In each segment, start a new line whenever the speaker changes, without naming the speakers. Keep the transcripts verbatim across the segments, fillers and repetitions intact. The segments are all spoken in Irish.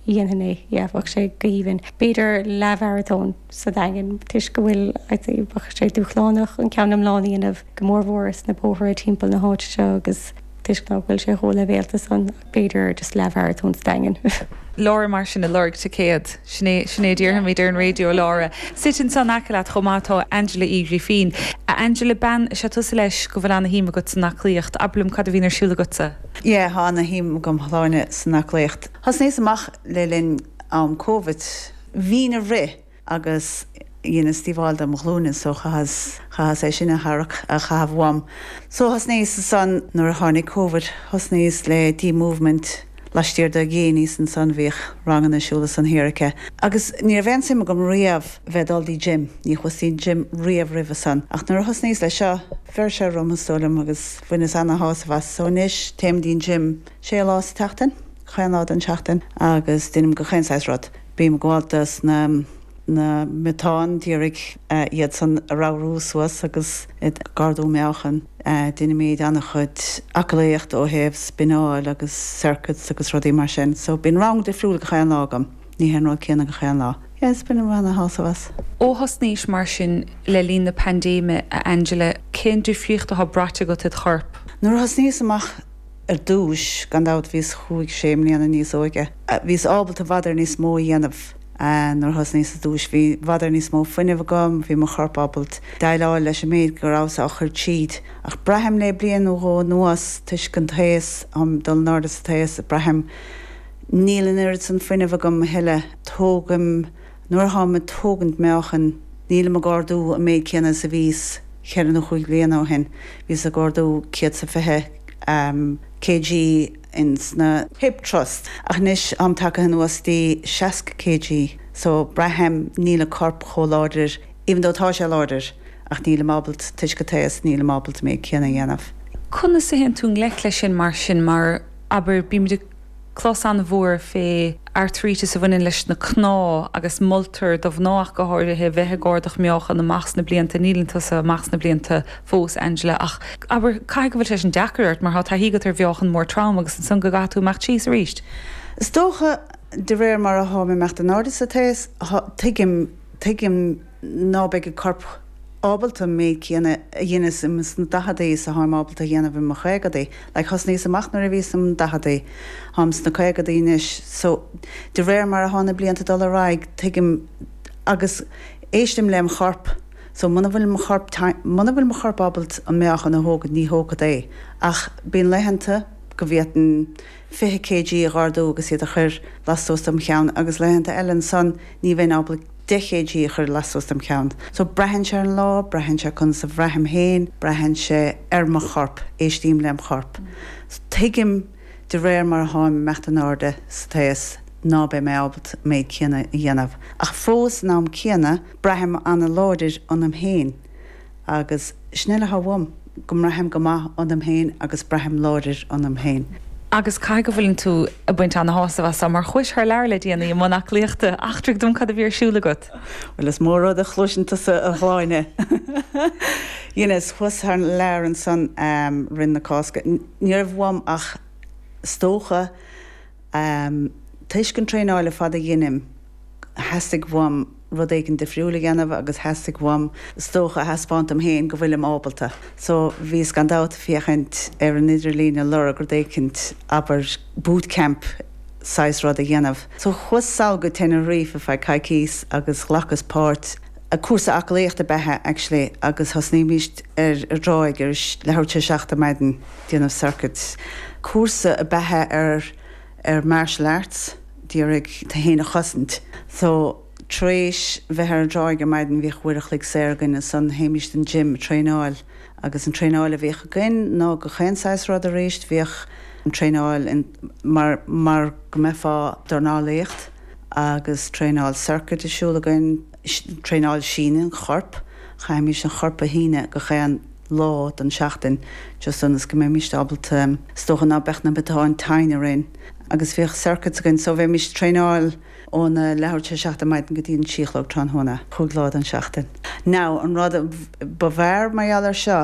dhéanfainn é yeah, bheadh sé go haoibhinn. B'fhéidir leathmharatón sa Daingean toisc go bhfuil bheadh sé dúshlánach an ceann iomlán a dhéanamh go mórmhór sna bóithre timpeall na háite seo agus toisc nach bhfuil sé chomh leibhéalta san b'fhéidir just leathmharatón sa Daingean.
Lára mar sin ag lorg ticéad sin é déarfaimid ar an raidió Lára. Suite ansan in aice leat chomh maith tá Angela Uí Ghrifín. A Angela bean is ea tusa leis go bhfuil ana-shuim agat san aclaíocht, abair liom cad a bhíonn ar siúl agatsa.
Yeah tá ana-shuim agam Shláine san aclaíocht. Thosnaíos amach le linn am COVID. Bhínn ag rith agus dheineas díobháil dom ghlúine so chaitheas chaitheas é sin a tharrac a chaitheamh uaim. So thosnaíos ansan nuair a tháinig COVID, thosnaíos le D movement laistiar de Ghéiníos ansan bhíodh ranganna ar siúl ansan thiar aici. Agus ní raibh aon suim agam riamh bheith dul dtí gym, ní chuas dtí gym riamh roimhe san. Ach nuair a thosnaíos le seo, bheir sé orm is dóigh liom agus bhaineas ana-shásamh as. So anois téim dtí'n gym sé lá sa tseachtain, chaon lá den tseachtain agus déanaim gach aon saghas rud. Bím ag gabháil dos na na miotáin d'iarraidh iad san a ramhrú suas agus ag ardú meáchan. Déanaimid an-chuid aclaíocht ó thaobh spineáil agus circuits agus rudaí mar sin. So bíonn rang difriúil gach aon lá agam, ní hé an rud céanna gach aon lá. Yes, bainim ana-shásamh as.
Ó thosnaís mar sin le linn na paindéime a Angela, cén difríocht atá braite agat id chorp?
Nuair a thosnaíos amach ar dtús gan dabht bhíos chúig sé mbliana níos óige. Bhíos ábalta i bhfad ar níos mó a dhéanamh nuair a thosnaíos ar dtús bhí i bhfad ar níos mó fuinnimh agam, bhí mo chorp ábalta déileáil leis an méid go rabhas á chur tríd. Ach braithim le bliain nó dhó anuas toisc an t-aos um dul in airde sa t-aos braithim níl an oiread san fuinnimh agam a thuilleadh tógaim nuair atá ag tógaint meáchan nílim ag ardú an méid céanna is a bhíos ceithre nó chúig bliana ó shin. Bhíos ag ardú céad sa fiche um, kg ins na hip thrust. Ach anois am tagtha anuas dtí seasca kg, so braithim níl an corp chomh láidir, even though tá sé láidir, ach nílim ábalta toisc an t-aos nílim ábalta méid céanna a dhéanamh.
Conas a théann tú i ngleic leis sin mar sin mar abair bímid clos an-mhór fé artairítis a bhaineann leis na cnámha agus moltar do mhná go háirithe bheith ag ardú meáchan amach sna blianta níl tusa amach sna blianta fós Angela ach abair caithfidh go bhfuil sé sin deacair ort mar tá taithí agat ar mheáchan mór trom agus ansan go gcaithfidh tú amach síos arís.
Is dócha de réir mar atá mé imeacht in airde sa t-aos tuigim tuigim ná beidh an corp ábalta méid céanna a dhéanamh sna daicheadaí is atáim ábalta a dhéanamh i mo chaogadaí. Like thosnaíos amach nuair a bhíos im daicheadaí táim sna caogadaí anois, so de réir mar atá na blianta dul ar aghaidh tuigim agus éistim lem chorp, so muna bhfuil mo chorp muna bhfuil mo chorp ábalta an meáchan a thógaint ní thógfad é. Ach bíonn laethanta go bhféadfainn fiche kg a ardú agus iad a chur lastuas dom cheann agus laethanta eile ansan ní bheinn ábalta deich kg a chur lastuas dom cheann. So braitheann sé ar an lá, braitheann sé conas a bhraithim féin, braitheann sé ar mo chorp, éistím lem chorp. So tuigim de réir mar atáim imeacht in airde sa t-aos ná beidh mé ábalta méid céanna a dhéanamh. Ach fós san am céanna braithim ana-láidir ionam féin agus sin uile atá uaim go mbraithim go maith ionam féin agus braithim láidir ionam féin.
Agus caithfidh go bhfuileann tú ag baint ana-shásamh as mar chuais thar lear le déanaí i mbun aclaíochta eachtraigh dom cad a bhí ar siúl agat.
Well is mór rud a chloiseann tusa a Shláine. Dheineas chuas thar lear ansan um, roimh na Cásca. Ní raibh uaim ach is dócha um, toisc an traenáil ar fad a dheinim theastaigh uaim rud éigin difriúil a dhéanamh agus theastaigh uaim is dócha a thaispeáint dom féin go bhfuilim ábalta. So bhíos gan dabht féachaint ar an idirlíon ag lorg rud éicint abair bootcamp saghas rud a dhéanamh. So chuas sall go Tenerife feadh coicís agus ghlacas páirt a cúrsa aclaíochta ab ea actually agus thosnaímis ar ar dtráigh ar leathuair tar éis seacht ar maidin déanamh circuit. Cúrsa ab ea ar ar martial arts d'iarraidh tú féin a chosaint. So tar éis bheith ar an dtráigh ar maidin bhíodh uair a chloig saor againn ansan théimis don gym traenáil agus an traenáil a bhíodh againn ná gach aon saghas rud arís bhíodh an traenáil mar mar go mbeifeá dornálaíocht agus traenáil circuit ar siúl againn traenáil síneadh an chorp chaithfimis an chorp a shíneadh gach aon lá den seachtain just ionas go mbeimis ábalta is dócha ná beadh na miotáin tinn orainn agus bhíodh circuits againn so bheimis traenáil óna leathuair tar éis seacht ar maidin go dtí an trí a chlog tráthnóna chúig lá den seachtain. Now an rud ba bhfearr mar gheall air seo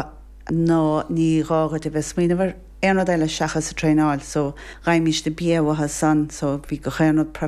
ná ní gá duit a bheith smaoineamh ar aon rud eile seachas sa traenáil, so gheibhimís na bia uathu san, so bhí gach aon rud